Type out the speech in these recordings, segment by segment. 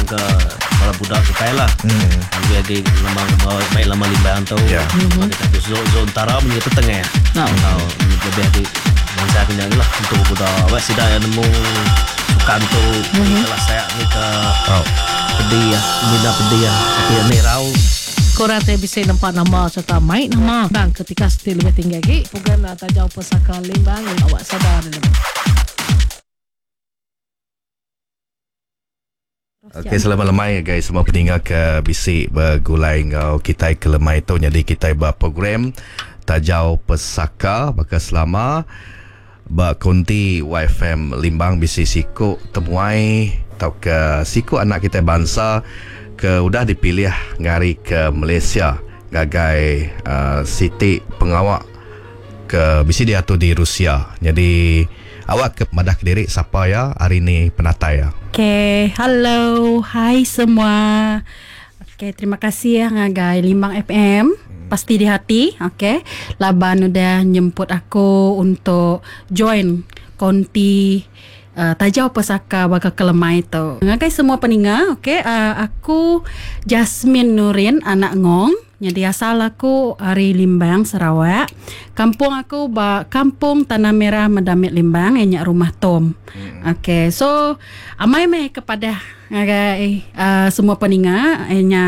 ke bala budak kitai lah. Lebih agi lama baik lama Limbang tu. Lama kitai tu zon zon utara mun kita tengah. Tau lebih agi bansa ke nya lah untuk budak awak sida iya nemu sukan tu ni ke lasak ni ke pedi mina pedi tapi enda irau. Korang ti bisi nempa nama sereta mai nama bang ke tikas ti lebih tinggi agi. Program Tajau Pesaka Limbang awak sada nemu. Okey selamat lemai ngagai semua peninga ke bisi begulai enggau kitai ke lemai tu nyadi kitai ba program Tajau Pesaka baka selama ba konti YFM Limbang bisi siku temuai tauka siku anak kitai bansa ke udah dipilih ngari ke Malaysia ngagai uhh siti pengawa ke bisi diatur di Rusia nyadi Awak ke madah kediri sapa iya ari ni penatai iya. Okay, hello, hai semua. Okay, terima kasih ngagai Limbang FM. Pasti di hati, okay. Laban udah nyemput aku untuk join konti uh, Tajau Pesaka baka kelemai tu. Ngagai semua peninga, okay, uh, aku Jasmine Nurin anak Ngong. Nyadi asal aku ari Limbang, Sarawak. Kampung aku ba Kampung Tanah Merah Medamit Limbang iya nya Rumah Tom. Ok so amai meh ke padah ngagai uhh semua peninga iya nya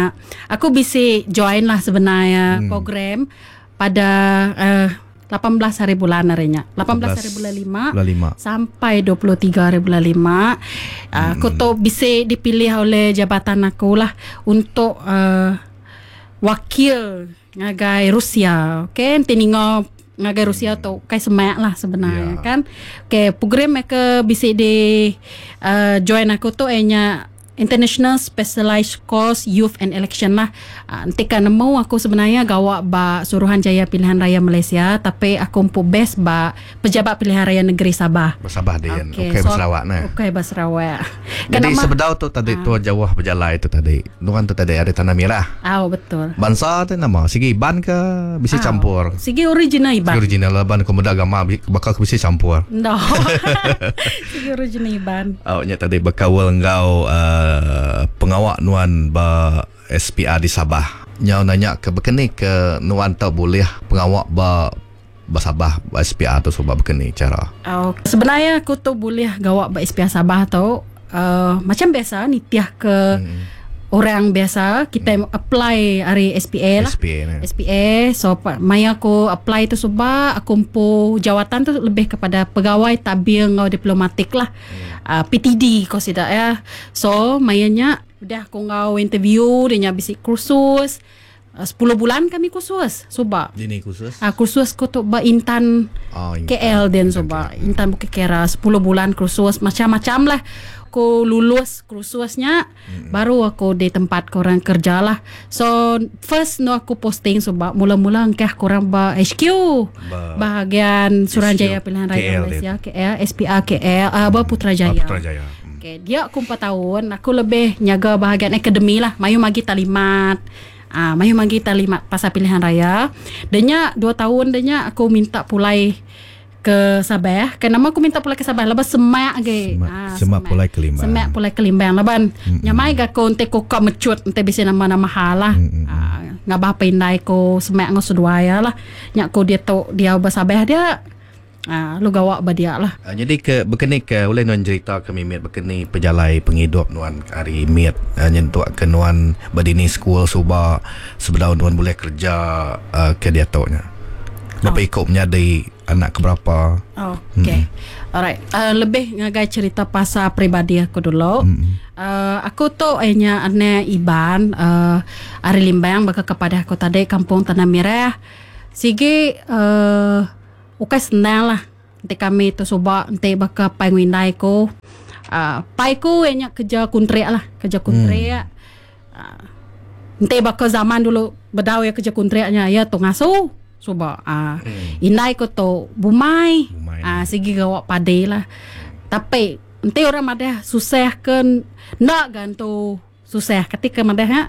aku bisi join lah sebenar iya program pada uhh 18 hari bulan ari nya. 18 hari bulan lima sampai 23 hari bulan lima. Uhh aku tu bisi dipilih oleh jabatan aku lah untuk uhh Wakil ngagai Rusia. Okey, enti ninga ngagai Rusia tu kai semak lah sebenarnya yeah. kan. Okey, program ke bisi di uh, join aku tu eh nya International Specialized Course Youth and Election lah. Uh, enti ka nemu aku sebenarnya gawa ba Suruhanjaya Pilihan Raya Malaysia tapi aku empu base ba Pejabat Pilihan Raya Negeri Sabah. Ba Sabah din. Okey, okay, so, ba Sarawak neh. Okey ba Sarawak. Jadi Kenapa? sebedau tu tadi ha. tuan jauh berjalai tu tadi. Nuan tu tadi ada Tanah Merah. Au betul. Bansa tu nama sigi Iban ke bisi Au. campur? Sigi original Iban. Sigi original lah ban ko meda gambar baka ke bisi campur. No. sigi original Iban. Au nya tadi bekaul enggau uh, pengawa nuan ba SPR di Sabah. Nyau nanya ke bekeni ke nuan tau bulih pengawa ba Ba Sabah ba SPR tu suba baka ni chara? Oh, sebenarnya aku tu bulih gawa ba SPR Sabah tu uh, macam biasa nitih ke hmm. orang biasa kita hmm. apply ari SPA lah. SPA, ne. SPA so maya aku apply tu suba aku empu jawatan tu lebih kepada pegawai tadbir enggau diplomatik lah. Hmm. Uh, PTD ko sida ya. So maya nya udah aku enggau interview dia nya bisi kursus 10 bulan kami kursus suba. Dini kursus? Ah kursus ku tu ba Intan, oh, Intan. KL din suba. Intan Bukit Kera 10 bulan kursus macam-macam lah. Aku lulus kursusnya mm-hmm. baru aku di tempat korang kerja lah. So first no aku posting suba mula-mula engkah korang ba HQ ba bahagian Suruhanjaya Pilihan Raya KL Malaysia KL SPR KL uh, ba Putrajaya. Putrajaya. Okay, dia aku 4 tahun, aku lebih nyaga bahagian akademi lah. Mayuh magi talimat. Ah, mayuh magi talimat pasal pilihan raya. Denya 2 tahun denya aku minta pulai ke Sabah. Ke nama aku minta pulai ke Sabah laban semak agi. Semak, ah, semak pulai ke Limbang. Semak pulai ke Limbang laban mm-hmm. nyamai ga aku enti ku ka mecut enti bisi nama-nama hal lah. Mm-hmm. Ah, ngabah pindai ku semak enggau seduai lah. Nya ku diatu diau ba Sabah dia. Aa, lalu gawa ba dia lah. Nyadi ke baka ni ke ulih nuan jerita ke mimit baka ni pejalai pengidup nuan ari mit nyentuk ke nuan ba dini sekul suba sebedau nuan bulih kereja ke diatu nya. Berapa iku menyadi anak ke berapa. Okay. Alright. Lebih ngagai cerita pasal peribadi aku dulu. Aku tu iya nya anak Iban ari Limbang baka ke padah aku tadi Kampung Tanah Mirah. Sigi uhh Ukai senang lah enti kami tu suba enti baka apai enggau indai ku. Aaa pai ku iya nya kerja kuntrik lah, kerja kuntrik. Aaa enti baka zaman dulu bedau iya kerja kuntrik nya iya tu ngasu suba. Aaa indai ku tu bumai aaa sigi gawa padi lah. Tapi enti orang madah susah ke enda ga entu. Susah kati ke madah nya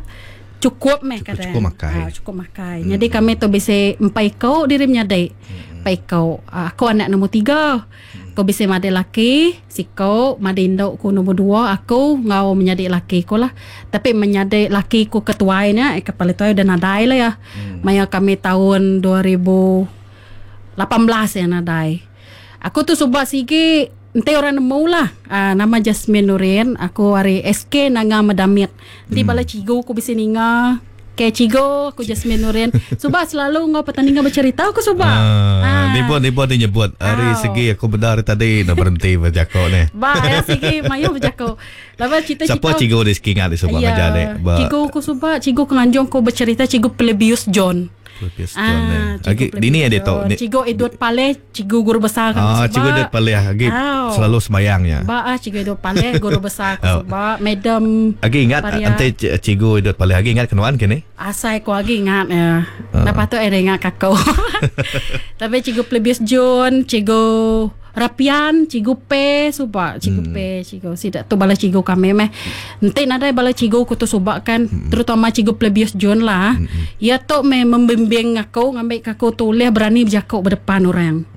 cukup meh kada. Cukup makai. Ha, cukup makai. Hmm. Jadi kami tu bisi empai iku diri menyadi. Empai iku. Aku anak nombor tiga. Hmm. Aku bisi madi laki siko, madi indu ku nombor dua aku enggau menyadi laki ku lah. Tapi menyadi laki ku ke tuai nya, ke paling tuai udah nadai lah iya. Maya kami taun 2018 iya nadai. Aku tu suba sigi enti orang nemu lah aaa nama Jasmine Nurin aku ari SK Nanga Medamit. Enti bala cikgu ku bisi ninga ke cikgu aku Jasmine Nurin suba selalu enggau pertandingan bercerita aku suba. Aaa nibuh nibuh ti nyebut ari segi aku meda ari tadi enda berenti bejako neh. Ba iya sigi mayuh bejako. Laban cita cita Sapa cikgu di segi ingat di suba ngajar dik ba Cikgu ku suba cikgu ke nganjung ku bercerita cikgu Plebius John. Plebius John eh. Agi dini adi tu. Cikgu Edward Paleh Cikgu guru besar kami suba. Cikgu Edward Paleh agi selalu sembayang nya. Ba ah Cikgu Edward Paleh guru besar aku suba. Madam Agi ingat enti Cikgu Edward Paleh agi ingat ke nuan kini? Asai ku agi ingat iya. Enda patut iya ingat ke aku. Tapi Cikgu Plebius John, Cikgu Rapian, Cikgu Pe suba, Cikgu Pe, Cikgu sida tu bala cikgu kami meh. Enti nadai bala cikgu ku tu suba kan, terutama Cikgu Plebius John lah. Iya tu meh membimbing aku ngambika aku tu ulih berani bejaku ba depan orang.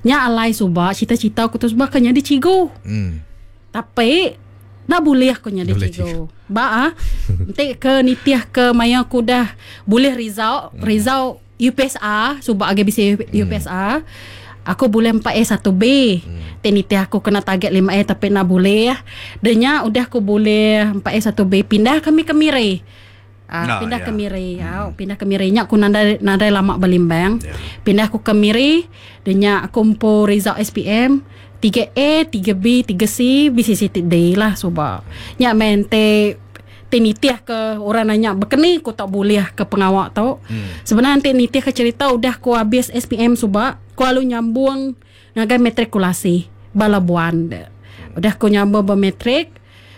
Nya alai suba cita-cita aku tu suba ka nyadi cikgu. Tapi enda bulih ku nyadi cikgu. Ba ah enti ke nitih ke maya ku udah bulih result, result UPSR suba agi bisi UPSR aku bulih 4A 1B. Ti nitih aku kena target 5A tapi enda bulih. Dah nya udah aku bulih 4A 1B pindah kami ke Miri. Uh, pindah ke Miri. Au, pindah ke Miri nya aku nadai nadai lama belimbang. Pindah aku ke Miri, dah nya aku empu result SPM 3A, 3B, 3C, bisi siti D lah suba. Nya meh enti ti nitih ke orang nanya bekeni ku tau bulih ke pengawa tu. Hmm. Sebenar enti nitih ke cerita udah ku habis SPM suba, ku alu nyambung ngagai matrikulasi ba Labuan. Udah ku nyambung ba matrik,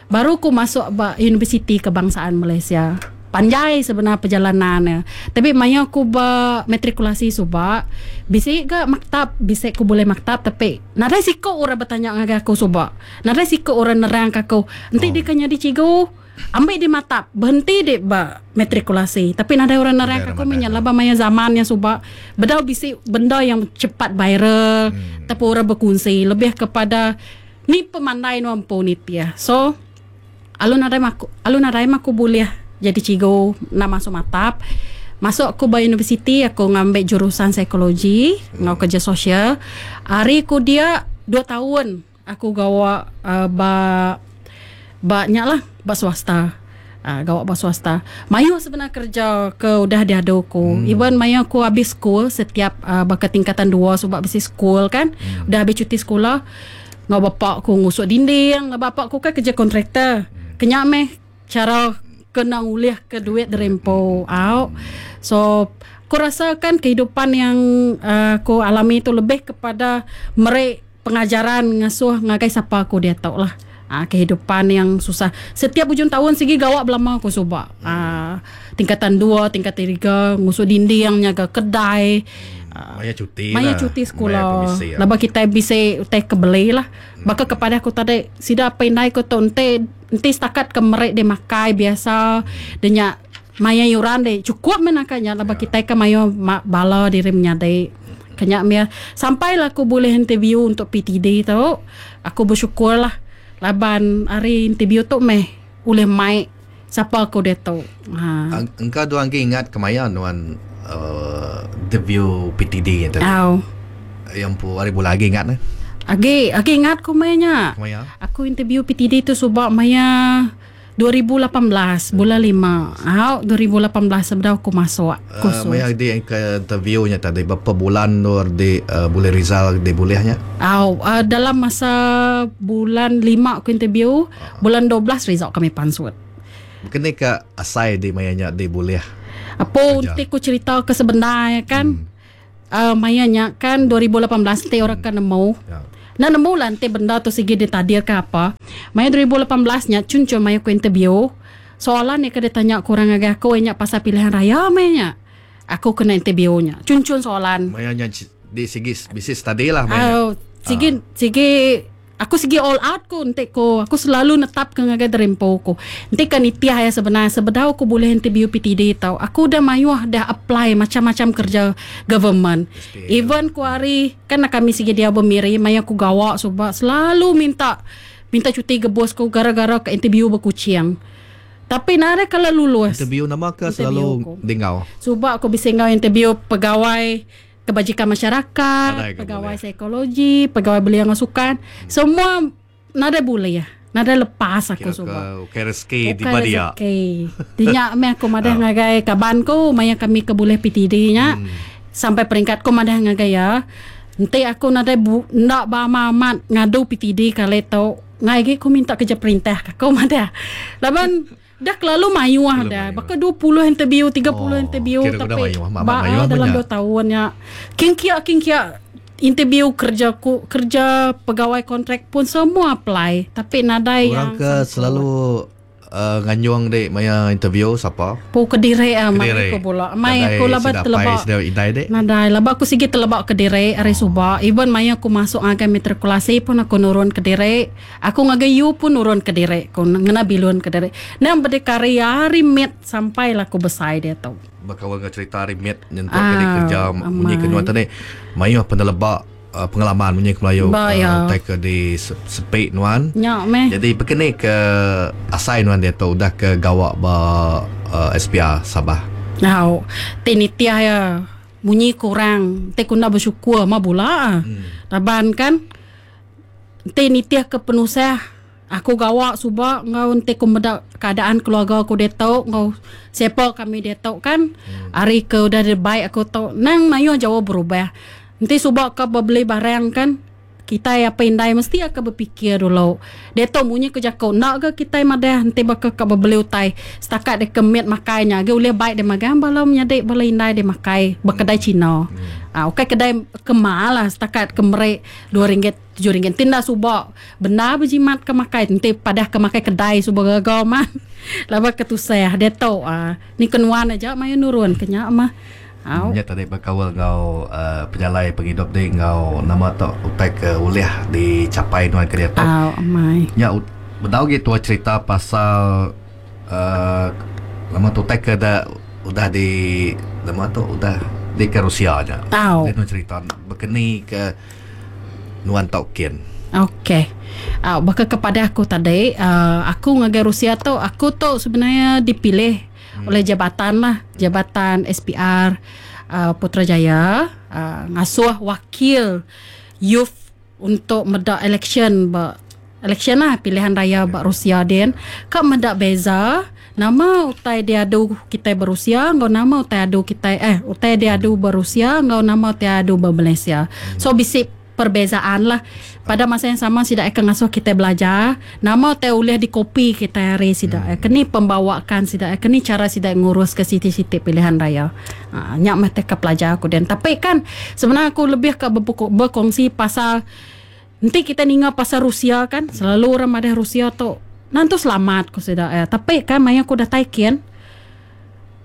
baru ku masuk ba Universiti Kebangsaan Malaysia. Panjai sebenar perjalanan ne. Tapi maya ku ba matrikulasi suba, bisi ga maktab, bisi ku bulih maktab tapi nadai siku orang betanya ngagai aku suba. Nadai siku orang nerangka aku. Enti oh. deka nyadi cikgu, ambil di matap, berhenti di ba matrikulasi. Tapi nadai orang nerangka aku menya laban maya zaman nya suba bedau bisi benda yang cepat viral, tapi orang berkongsi lebih kepada ni pemandai nuan empu nitih. So alu nadai maku alu nadai maku bulih jadi cikgu enda masuk matap. Masuk aku ba universiti aku ngambi jurusan psikologi enggau kerja sosial. Ari ku dia dua taun Aku gawa ba ba nya lah ba swasta. Uh, gawa ba swasta. Mayuh sebenar kerja ke udah diadu aku. Hmm. Even maya aku habis school setiap uh, baka tingkatan dua suba bisi school kan. Hmm. Udah habis cuti sekolah ngau bapak aku ngusuk dinding, bapak aku kan kerja kontraktor. Hmm. Kenya meh chara kena ngulih ke duit dari empu au. So aku rasa kan kehidupan yang uh, aku alami tu lebih kepada meri Pengajaran ngasuh ngagai sapa aku diatu lah. Aa kehidupan yang susah. Setiap ujung taun sigi gawa belama aku suba. Aa tingkatan dua, tingkatan tiga ngusuk dinding, nyaga kedai. Maya cuti Maya cuti sekula. Laban kitai bisi utai ke beli lah. Baka ke padah aku tadi sida apai indai ku tu enti enti setakat ke meri deh makai biasa deh nya maya yuran deh chukup meh naka nya laban kitai ke mayuh bala diri menyadi. Ke nya mih sampai lah aku bulih interview untuk PTD tu aku bersyukur lah laban ari interview tu meh ulih mai sapa aku diatu. Ha. Engka dua agi ingat kemaya nuan uh, interview PTD nya tadi. Au. Yang empu hari bulan agi ingat ne? Agi agi ingat ku maya nya. Kemaya? Aku interview PTD tu suba maya 2018 bulan lima au 2018 sebedau aku masuk kursus. Uh, maya di ke interview nya tadi berapa bulan nur di uh, boleh result di boleh nya? Au uh, dalam masa bulan lima aku interview, uh. bulan 12 result kami pansut. Kini ke asai di maya nya di boleh. Apa nanti aku cerita ke sebenar ya kan? Hmm. Uh, maya nya kan 2018 enti orang ke nemu. Ya. Enda nemu lah enti benda tu sigi ditadir ke apa. Maya 2018 nya chun chun maya ku interview, soalan iya ke ditanya ku orang ngagai aku iya nya pasal pilihan raya meh nya. Aku kena interview nya. Chun chun soalan. Maya nya di sigi bisi study lah maya nya. Uh, sigi uh. sigi. Aku sigi all out ku enti ku aku selalu netap ke ngagai derimpu ku. Enti ka nitih iya sebenar sebedau aku bulih interview PTD tau aku udah mayuh dah apply macam-macam kerja government. Even ku hari kan kami sigi diau bemiri maya aku gawa suba selalu minta minta cuti ke bos ku gara-gara ka interview ba Kuching. Tapi nadai kala lulus. Interview nama ke selalu dinggau? Suba aku bisi enggau interview pegawai kebajikan masyarakat, pegawai psikologi, pegawai belia enggau sukan, semua nadai bulih. Nadai lepas aku suba. Ukai rezeki tiba dia. Rezeki. Dinya meh aku madah ngagai kaban ku maya kami ke bulih PTD nya. Sampai peringkat ku madah ngagai iya, enti aku nadai enda ba amat amat ngadu PTD kali tu, ngai agi ku minta kerja perintah ka ku madah. Laban Dah kelalu mayuh dah. Baka 20 interview, 30 oh, interview tapi mayuh, ba mayuh dalam 2 tahun nya. King kia king kia interview kerja ku kerja pegawai kontrak pun semua apply tapi nadai Orang yang ke selalu nganjung dek maya interview sapa? Pu kediri ah mai aku bula. Mai aku laba teleba. Nadai laba aku sigi teleba kediri ari suba. Even maya aku masuk ngagai matrikulasi pun aku nurun kediri. Aku ngagai yu pun nurun kediri ku ngena bilun kediri. Nang bedikari ari mit sampai lah ku besai diatu. Bekaul enggau cerita ari mit nyentuk ke dikerja munyi ke nuan tadi mayuh peneleba pengalaman munyi ke Melayu utai ke di sepi nuan. Nya meh. Jadi bekeni ke asai nuan diatu udah ke gawa ba SPR Sabah. Au ti nitih iya munyi kurang ti ku enda besyukur mah bula. Laban kan Enti nitihka penusah aku gawa suba enggau enti ku meda keadaan keluarga aku diatu enggau siapa kami diatu kan ari ke udah dibai aku tu nang mayuh jauh berubah. Enti suba ka bebeli barang kan kitai apai indai mesti akan bepikir dulu. Diatu munyi ku jaku enda ga kitai madah enti baka ka bebeli utai setakat deka mit makai nya agi ulih bai deh magang bala menyadi bala indai deh makai ba kedai cina. Aaa ukai kedai ke mahal lah setakat ke meri. 2 ringgit 7 ringgit enti enda suba bendar bejimat ke makai enti padah ke makai kedai suba gaga mah laban ke tusah diatu uhh ni ke nuan aja mayuh nurun ke nya mah au. Nya tadi bekaul enggau uhh pejalai pengidup ti enggau nama tu utai ke ulih dicapai nuan ke diatu. Au amai. Nya bedau agi tuai cerita pasal uhh nama tu utai ke da udah di nama tu udah di ke Rusia nya. Au. Nuan cerita bekeni ke nuan tau kin. Okey. Au baka ke padah aku tadi uhh aku ngagai Rusia tu aku tu sebenarnya dipilih hmm. oleh jabatan lah, jabatan SPR uh, Putrajaya uh, ngasuh wakil youth untuk meda election ba election lah pilihan raya ba Rusia din ka meda beza nama utai diadu kitai ba Rusia enggau nama utai adu kitai eh utai diadu ba Rusia enggau nama utai adu ba Malaysia. So bisi perbezaan lah. Pada masa yang sama sida akan ngasuh kitai belajar nama utai ulih dikopi kitai ari sida keni pembawakan sida keni cara sida ngurus ke siti-siti pilihan raya. Haa nya meh ke pelajar aku din. Tapi kan sebenarnya aku lebih ka bekongsi pasal Enti kitai ninga pasal Rusia kan, selalu orang madah Rusia tu nentu selamat ku sida iya. Tapi kan maya ku datai kin,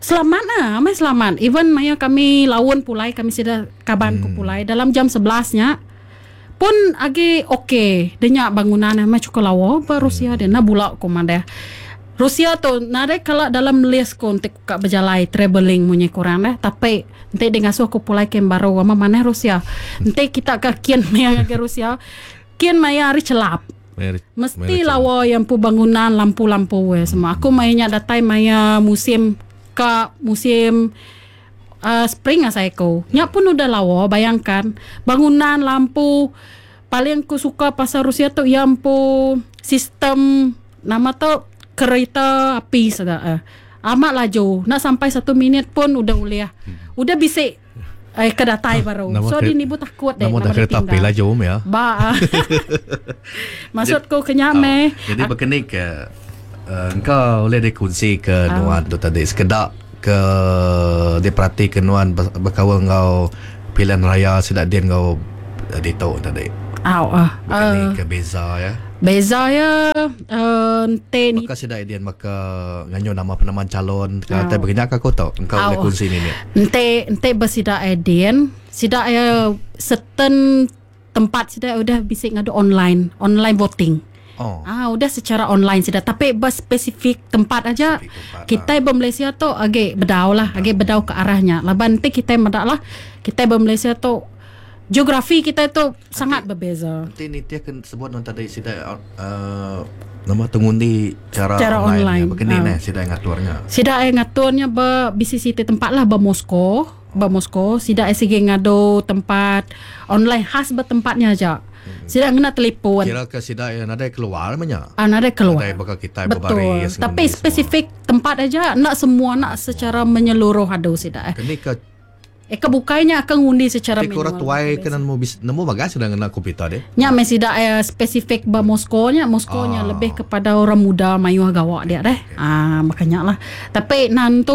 selamat ah, amai selamat. Even maya kami laun pulai kami sida kaban ku pulai dalam jam 11 nya pun agi ok. Deh nya bangunan amai chukup lawa ba Rusia dia. Enda bula ku madah. Rusia tu nadai kala dalam list ku enti ku ka bejalai travelling munyi ku orang deh. Tapi Enti deh ngasuh aku pulai kem baru ama manah Rusia. Enti kita ka kin maya ngagai Rusia, kin maya hari chelap. Mesti lawa iya empu bangunan lampu-lampu iya semua. Aku maya nya datai maya musim ka musim uhh spring asai aku. Nya pun udah lawa bayangkan bangunan lampu paling ku suka pasal Rusia tu iya empu sistem nama tu kereta api sida eh. Amat laju. Enda sampai satu minit pun udah ulih. Udah bisi eh ke datai baru. Nama So kere- di nibu takut deh Nama dah nama kereta api ditinggal. laju meh ya. Ba. Maksud ku ke nya meh. Jadi bekeni ke uh, engka ulih dikunsi ke nuan tu tadi sekeda ke diperati ke nuan bekaul enggau pilihan raya sida din enggau ditu tadi. Au ah. Bekeni ke beza ya. Beza ya uh, enti Baka sida idin baka nganyu nama penaman calon ke tai begenya ka aku tu engka ulih kunsi mimit. Enti enti besida idin sida ya certain. tempat sida udah bisi ngadu online, online voting. Oh. Ah udah secara online sida tapi ba spesifik tempat aja. Spesifik tempat, Kitai ba Malaysia tu agi bedau lah, agi bedau ke arahnya. Laban enti kitai meda lah, kitai ba Malaysia tu geografi kitai tu sangat berbeza. Enti nitih ke sebut nuan tadi sida uh, nama tu ngundi cara, Cara online, online. nya. Begini Ah. neh sida ngatur nya. Sida ai ngatur nya ba bisi siti tempat lah ba Moscow. Ba Moscow sida ai sigi ngadu tempat online khas ba tempatnya aja. Sida ngena telefon. Kira ke sida yang nadai keluar menya. Ah, nadai keluar. Nadai baka kitai Betul. berbaris Tapi ngundi semua. spesifik tempat aja nak semua nak secara menyeluruh adu sida. Eh, Kini ke eh kebukainya akan ngundi secara ti orang tuai ke nemu bis, nemu bagas sudah ngena komputer deh. Nya mesti sida eh, spesifik ba Moskow nya, Moskow nya Ah. lebih kepada orang muda mayuh gawak dia deh. Ah makanya lah. Tapi nantu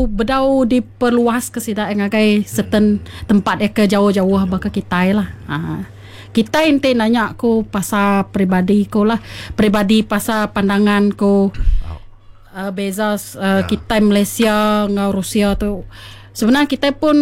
bedau diperluas ke sida eh, ngagai certain tempat eh ke jauh-jauh baka kitai lah. Ah. Kita ente nanya aku pasal peribadi ku lah, peribadi pasal pandangan ku beza kita Malaysia dengan Rusia tu. Sebenarnya kita pun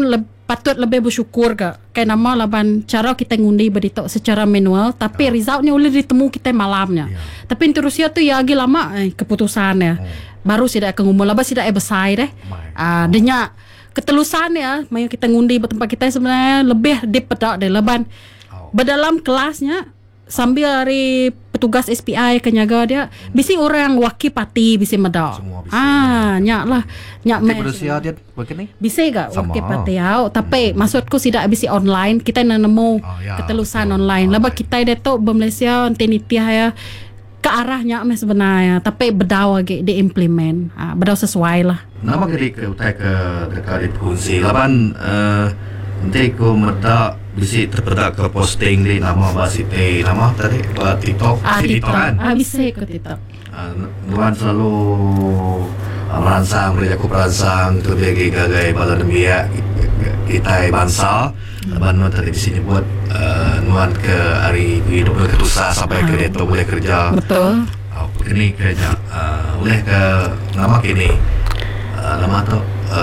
patut lebih bersyukur ke. Kayak nama laban cara kita ngundi berditok secara manual tapi resultnya boleh ditemu kita malamnya. Tapi untuk Rusia tu ya lagi lama keputusan ya. Baru tidak akan ngumul laban tidak besar deh. Ah denya ketelusan ya maya kita ngundi bertempat kita sebenarnya lebih dipedak deh laban berdalam kelasnya sambil hari petugas SPI ke nyaga dia bisi orang wakil parti bisi meda. Semua bisi. Ah nyak lah nyak Ti meh. Rusia dia begini. Bisi gak Sama. wakil parti au tapi maksudku tidak bisi online kita nak nemu Oh, ya, ketelusan betul. online. Lepas Online. kita dia tu berMalaysia nanti nitiah ya ke arahnya meh sebenarnya tapi bedau lagi diimplement. Ah bedau sesuai lah. Nama ke ke utai ke dekat dikongsi laban nanti ku meda bisi terpedak ke posting di nama ba Siti nama tadi ba TikTok Ah Siti TikTok. kan. Ah bisi ke TikTok. Nuan selalu merangsang beri aku perangsang terlebih lagi gagai bala nembiak kita bangsa laban nuan tadi bisi nyebut nuan ke hari hidup ke tusah sampai ke dia tu boleh kerja Betul. Kini kerja boleh ke nama kini nama tu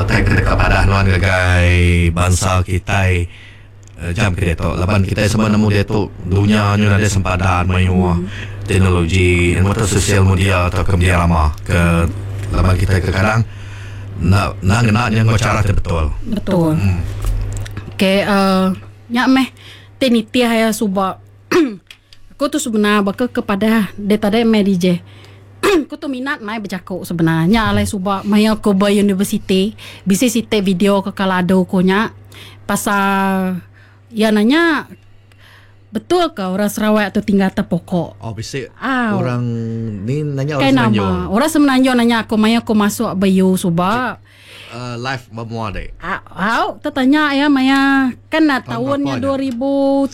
tai ke dekat padah nuan gagai bangsa kita jam ke dia tu laban kita semua nemu dia tu dunia nyu ada sempadan mayu teknologi nemu tu sosial media atau ke media lama ke laban kita ke kadang nak nak ngena nya ngau cara ti betul. Betul. Okey, nyak meh tenitiah ya subak. Aku tu sebenar baka kepada dia tadi meh DJ. Aku tu minat mai bercakap sebenarnya alai subak maya aku ber university bisi site video ke kalado ko nya pasal ya nanya betul ke orang Sarawak tu tinggal atas pokok Oh bisi Aw. orang ni nanya Kai orang nama Semenanjung. orang Semenanjung nanya aku maya aku masuk bayu subak Live bermua dek. Au, tertanya ya Maya kan nak Tahun tahunnya berapa 2013.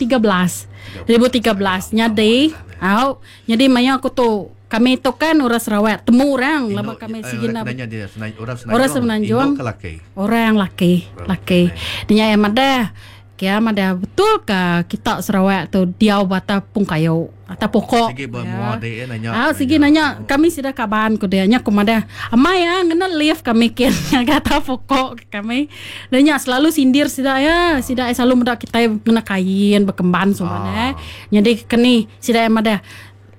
2013 nyadi. Au, jadi Maya aku tu kami tu kan orang Sarawak, temu orang lama kami sigina sigina nanya dia orang Semenanjung. Orang Semenanjung. Induk ke laki? Orang laki, laki. Dia yang ada Kia ada betul ke kita Sarawak tu diau bata pung kayu atau pokok. Sigi bermua dek nanya. Ah, sigi nanya kami sudah kaban ku dia nya ku madah. Amai ya ngena lift kami kin kata pokok kami. Dia nya selalu sindir sida ya, sida selalu meda kita ngena kain berkemban semua ah. Jadi keni sida madah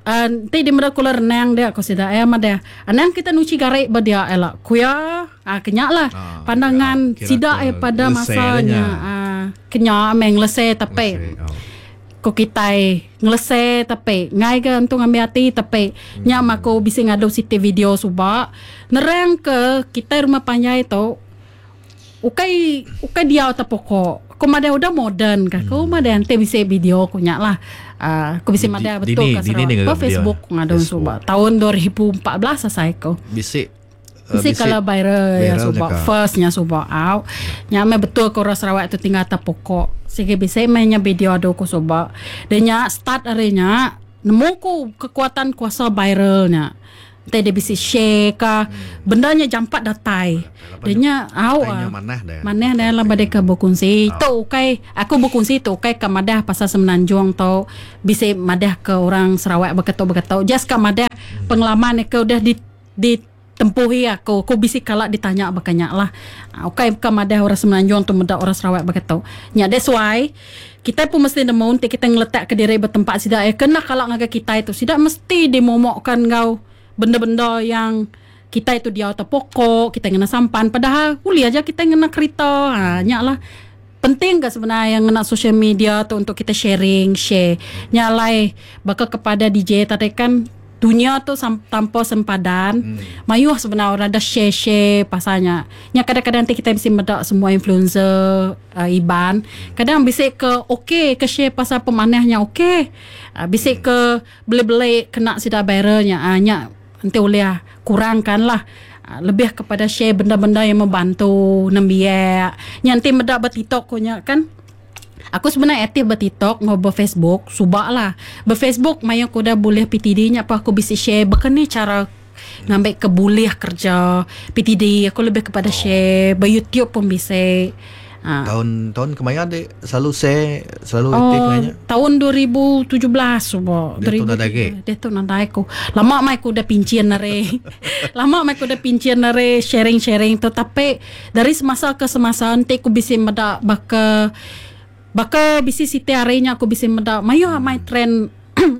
nanti dia meda kula renang dia aku sida ya madah. Anang kita nuci garik ba dia elak. Kuya ah kenyak lah Ah, pandangan kira- kira sida ke pada lese masanya nya. ah kenyak meng lese tapi Oh. ko kitai ngelese tapi ngai ke untung ambil hati tapi nya mako bisi ngadu siti video subak nerang ke kitai rumah panjai tu ukai ukai dia atau pokok ko mada udah modern ka ko mada ante bisi video ko nya lah ko bisi mada Di- betul dini- ka dini ni Sarawak. ngaga Ba Facebook video. ngadu Facebook. subak tahun 2014 selesai ko Bisi Mesti kalau viral ya viral subak je kah? firstnya subak out. Nya me betul ko orang Sarawak tu tinggal atas pokok. Sige bisa mainnya video ado ko subak. Dia nya start arinya nemu ko kekuatan kuasa viralnya. Nanti dia bisa share ka bendanya jampat datai. Dia nya au Tanya ah. manah dah. Maneh dah lah badai ke berkongsi. Tu ukai aku berkongsi tu ukai ke madah pasal Semenanjung tu bisa madah ke orang Sarawak berketuk-berketuk. Just ke madah pengalaman ke udah di di Tempuh iya aku, aku bisi kala ditanya baka nya lah. Ukai buka madah orang Semenanjung tu meda orang Sarawak baka tu. Nya that's why kitai pun mesti nemu enti kitai ngeletakka diri ba tempat sida iya ke enda kala ngagai kitai tu sida mesti dimomokka enggau benda-benda yang kitai tu diau atas pokok, kitai ngena sampan padahal ulih aja kitai ngena kerita. Ha nya lah penting ga sebenar iya ngena social media tu untuk kitai sharing, share. Nya alai baka kepada DJ tadi kan dunya tu tanpa sempadan hmm. mayuh sebenar orang dah share share pasal nya. Nya kadang-kadang nanti kita bisi meda semua influencer uh, Iban, kadang bisi ke okey ke share pasal pemanahnya okey. Uh, bisi hmm. ke beli-beli kena sida viral nya. Uh, nya enti ulih kurangkan lah. Uh, lebih kepada share benda-benda yang membantu nembiak. Nya enti meda ba TikTok ko nya kan. Aku sebenar aktif ba TikTok enggau ba Facebook suba lah. Ba Facebook maya aku udah bulih PTD nya pun aku bisi share baka ni cara ngambi ke bulih kerja PTD aku lebih kepada share ba YouTube pun bisi. Ha. Tahun tahun kemaya dik selalu share selalu oh, aktif maya nya? Tahun 2017 suba. Dia tu nadai agi. Dia tu nadai aku. Lama mai aku udah pincin ari. Lama mai aku udah pincin ari sharing-sharing tu tapi Dari semasa ke semasa enti ku bisi meda baka baka bisi siti hari nya aku bisi meda mayuh amai trend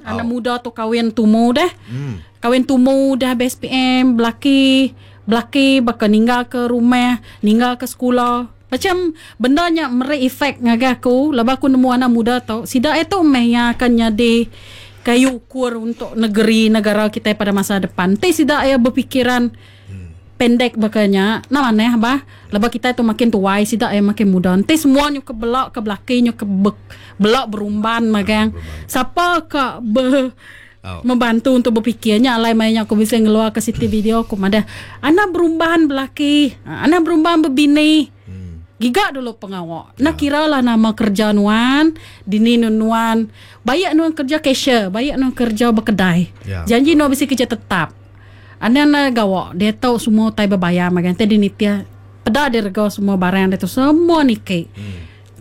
anak muda tu kawin tumu deh. Hmm. Kawin tumu dah habis SPM belaki belaki baka ninggal ke rumah, ninggal ke sekula. Macam benda nya meri efek ngagai aku laban aku nemu anak muda tu sida iya tu meh iya akan nyadi kayu ukur untuk negeri negara kitai pada masa depan. Enti sida iya berpikiran Pendek baka nya, enda manah bah. Lebuh kitai tu makin tuai, sida iya makin muda. Enti semua nyuka bela ke belaki nyuka be bela berumban magang. Sapa ka be membantu untuk bepikir nya alai maya nya aku bisi ngeluarka siti video aku madah anang berumban belaki, anang berumban bebini. Giga dulu pengawa. Enda kira lah nama kerja nuan, dini nu nuan. Baik nuan kerja cashier, baik nuan kerja bekedai. Janji nuan bisi kerja tetap. Anang enda gawa diatu semua utai bebayar magang ti dinitih peda direga semua barang diatu semua niki.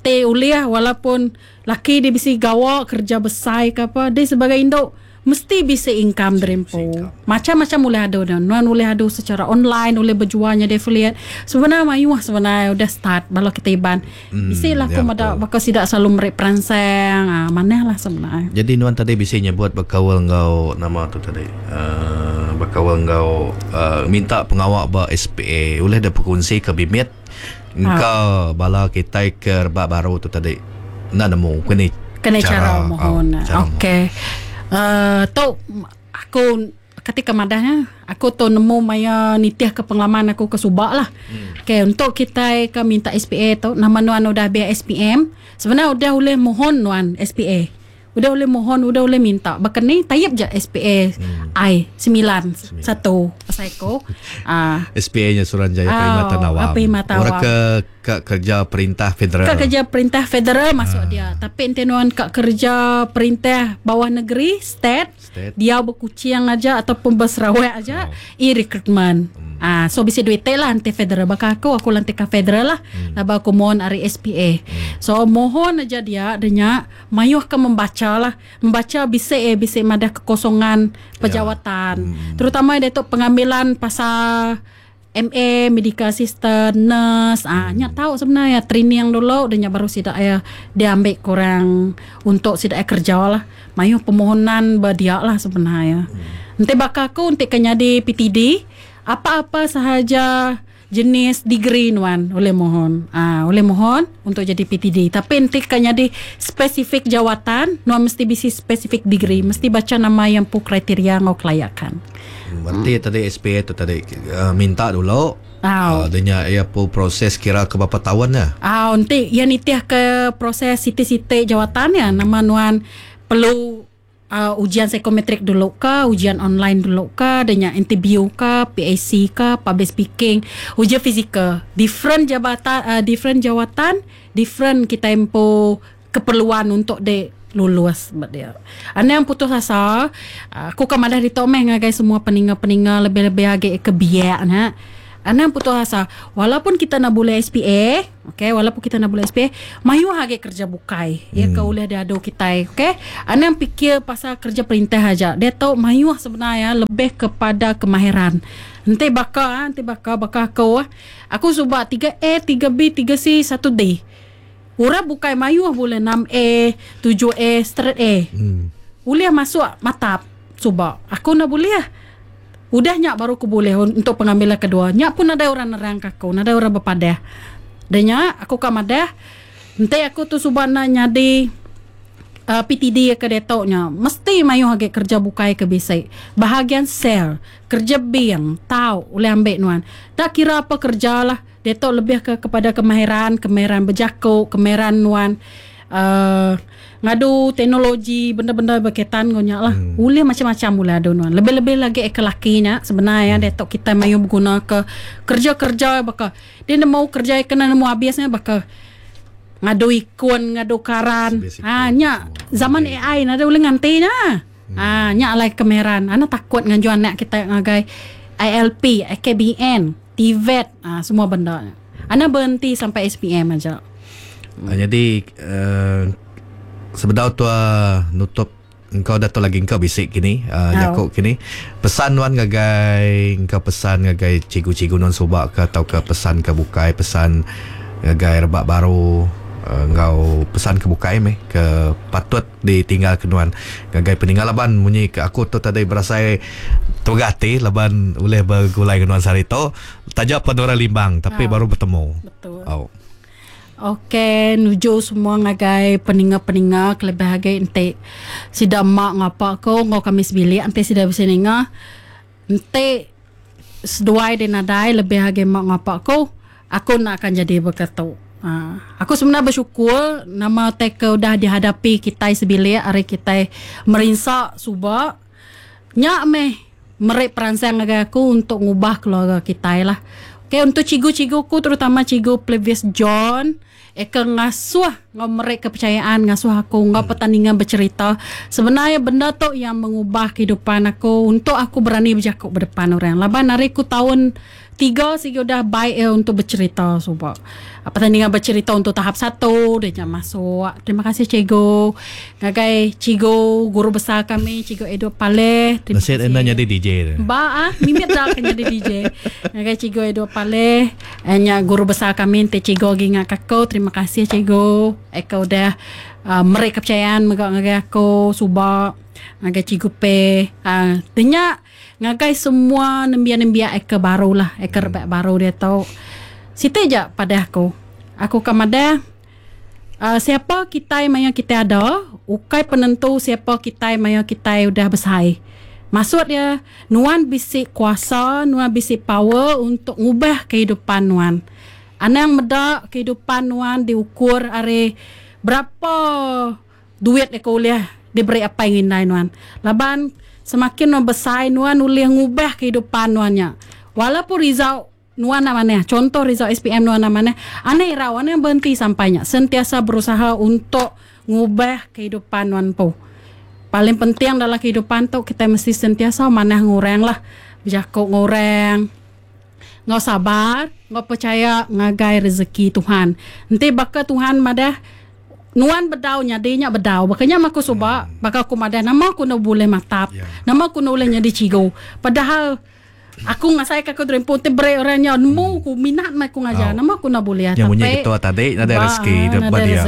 Ti ulih walaupun laki dia bisi gawa kerja besai ke apa dia sebagai indu mesti bisi income diri empu. Macam-macam ulih adu ne. Nuan ulih adu secara online ulih bejual nyadi affiliate. Sebenar mayuh sebenar udah start bala kita Iban. Bisi lah aku meda baka sida selalu meri peransang ah manah lah sebenar. Jadi nuan tadi bisi nyebut bekaul enggau nama tu tadi uhh bekaul enggau uhh minta pengawa ba SPA ulih deh pekongsi ke bimit engka bala kitai ke rebak baru tu tadi enda nemu ke ni Kena cara mohon. Okey. Uhh tu aku Kati ke madah nya, aku tu nemu maya nitih ke pengalaman aku ke suba lah. Hmm. Okay, untuk kitai ke minta SPA tu, nama nuan udah habis SPM, sebenarnya udah ulih mohon nuan SPA. Udah ulih mohon, udah ulih minta. Baka ni, type je SPA hmm. I 9 1 pasal aku. Ah. SPA nya Suruhanjaya Perkhidmatan Awam. Perkhidmatan Orang ke ka kerja perintah federal. Ka kerja perintah federal masuk ha. dia. Tapi enti nuan ka kerja perintah bawah negeri, state, state. diau bekuching aja ataupun bersarawak aja, oh. e-recruitment. Hmm. Ah, so bisi duit lah anti federal baka aku aku lantik ka federal lah. Hmm. Laba aku mohon ari SPA. Hmm. So mohon aja dia denya mayuh ke membaca lah. Membaca bisi eh bisi madah kekosongan pejawatan. Ya. Hmm. Terutama dia tu pengambilan pasal MA, medical assistant, nurse, ah nya tau sebenarnya training dulu dah nya baru sida iya diambil kurang untuk sida iya kerja lah. Mayuh permohonan ba dia lah sebenarnya. Enti baka aku enti ke nyadi PTD, apa-apa sahaja jenis degree nuan ulih mohon. Ah ulih mohon untuk jadi PTD. Tapi enti ke nyadi spesifik jawatan, nuan mesti bisi spesifik degree, mesti bacha nama iya empu kriteria enggau kelayakan. Berarti hmm. tadi SPA tu tadi uh, minta dulu. Au. Uh, dia nya ia pu proses kira ke berapa tahun ya? Au, nanti ia nitih ke proses siti-siti jawatan ya nama nuan perlu uh, ujian psikometrik dulu ke, ujian online dulu ke, dia nya interview ke, PAC ke, public speaking, ujian fizikal. Different jabatan uh, different jawatan, different kita empu keperluan untuk dek lulus ba dia. Anang putus asa, aku ka madah ditu meh ngagai semua peninga-peninga lebih-lebih agi ke biak nya. Anang putus asa, walaupun kita enda bulih SPA, okay, walaupun kita enda bulih SPA, mayuh agi kerja bukai iya ke ulih diadu kitai, okay. Anang pikir pasal kerja perintah aja. Diatu mayuh sebenar iya lebih kepada kemahiran. Enti baka enti baka baka aku ah. Aku suba 3A, 3B, 3C, 1D. Orang bukai mayuh bulih 6A, 7A, straight A. Ulih masuk matap suba. Aku enda bulih. Udah nya baru ku bulih untuk pengambilan kedua. Nya pun nadai orang nerang ka aku, nadai orang bepadah. Dah nya aku ka madah enti aku tu suba enda nyadi uh, PTD ke diatu nya mesti mayuh agi kerja bukai ke bisi. Bahagian sel, kerja bank tau ulih ambi nuan. Tak kira apa kerja lah. Diatu lebih ke kepada kemahiran, kemahiran bejaku, kemahiran nuan uh, ngadu teknologi benda-benda berkaitan enggau nya lah. Hmm. Ulih macam-macam ulih adu nuan. Lebih-lebih lagi ke laki nya sebenarnya hmm. diatu kita mayuh beguna ke kerja-kerja baka dia nemu kerja kena nemu habisnya baka ngadu ikon, ngadu karan. Ha nya zaman AI nada ulih nganti nya. Hmm. Ha nya alai kemahiran. Ana takut nganju anak kita ngagai ILP, AKBN. TVET ah semua benda nya. Anang berhenti sampai SPM aja. Hmm. Jadi uh, sebedau tua nutup engkau dah tu lagi engkau bisi kini uh, jaku kini pesan nuan ngagai engkau pesan ngagai cikgu-cikgu nuan suba ke atau ke pesan ke bukai pesan ngagai rebak baru uh, enggau pesan ke bukai meh ke patut ditinggal ke nuan ngagai peninggal laban munyi ke aku tu tadi berasai temegah ati laban ulih begulai dengan nuan sehari tu taja pen orang Limbang tapi oh. baru betemu. Betul. Oh. Okey, nuju semua ngagai peninga-peninga kelebih agi enti sida mak ngapa ko enggau kami sebilik enti sida bisi ninga enti seduai deh nadai lebih agi mak ngapa ko Aku enda akan jadi baka tu. Aku semina besyukur nama utai ke udah dihadapi kitai sebilik ari kitai merinsa suba. Nya meh meri peransang ngagai aku untuk ngubah keluarga kitai lah. Okay, untuk cikgu-cikgu ku terutama cikgu Plevius John eka ngasuh enggau meri kepercayaan ngasuh aku enggau pertandingan bercerita. Sebenarnya benda tu yang mengubah kehidupan aku untuk aku berani bejaku berdepan orang. Laban ari ku taun Tiga sigi udah baik iya untuk bercerita suba. Pertandingan bercerita untuk tahap satu dia nya masuk. Terima kasih cikgu. Ngagai cikgu guru besar kami cikgu Edward Paleh. Terima Nasib kasih. Enda nyadi DJ. Ba ah mimit dah ke nyadi DJ. Ngagai cikgu Edward Paleh nya guru besar kami enti cikgu agi ngak aku. Terima kasih cikgu. Eka udah uh, meri kepercayaan mega ngagai aku suba. Ngagai cikgu P. Uh, nya Ngagai semua nembiak-nembiak eka baru lah, eka rebak baru diatu. Siti ja padah aku. Aku ka madah uhh siapa kitai maya kitai ada ukai penentu siapa kitai maya kitai udah besai. Maksud iya nuan bisi kuasa, nuan bisi power untuk ngubah kehidupan nuan. Anang meda kehidupan nuan diukur ari berapa Duit deka ulih diberi apai enggau indai nuan. Laban semakin nuan besai nuan ulih ngubah kehidupan nuan nya. Walaupun result nuan enda manah, contoh result SPM nuan enda manah, anang irau, anang berhenti sampai nya. Sentiasa berusaha untuk ngubah kehidupan nuan empu. Paling penting dalam kehidupan tu kitai mesti sentiasa manah enggau orang lah. Bejaku enggau orang. Enggau sabar, enggau pechaya ngagai rezeki Tuhan. Enti baka Tuhan madah nuan bedau nyadi nya bedau. Baka nya meh aku suba, baka aku madah nama aku enda bulih matap, nama aku enda ulih nyadi cigu. Padahal aku ngasai ka aku terempu ti beri orang nya nemu ku minat meh aku ngajar nama aku enda bulih. Nya munyi ketua tadi nadai rezeki ba dia.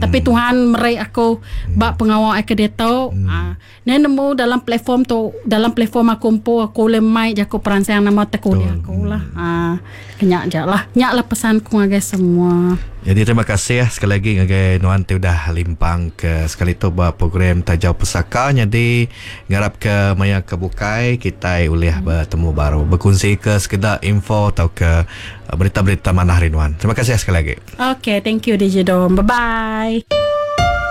Tapi Tuhan meri aku ba pengawa ai ke diatu. Neh nemu dalam platform tu, dalam platform aku empu aku ulih mai jaku peransang nama tekuliah aku lah. Aa nya aja lah. Nya lah pesan ku ngagai semua. Jadi terima kasih sekali lagi ngagai nuan ti udah limpang ke sekali tu ba program Tajau Pesaka nyadi ngarap ke maya ke bukai kitai ulih betemu baru bekunsi ke sekeda info tauka berita-berita manah ari nuan. Terima kasih sekali lagi. Okay, thank you DJ Dom. Bye bye.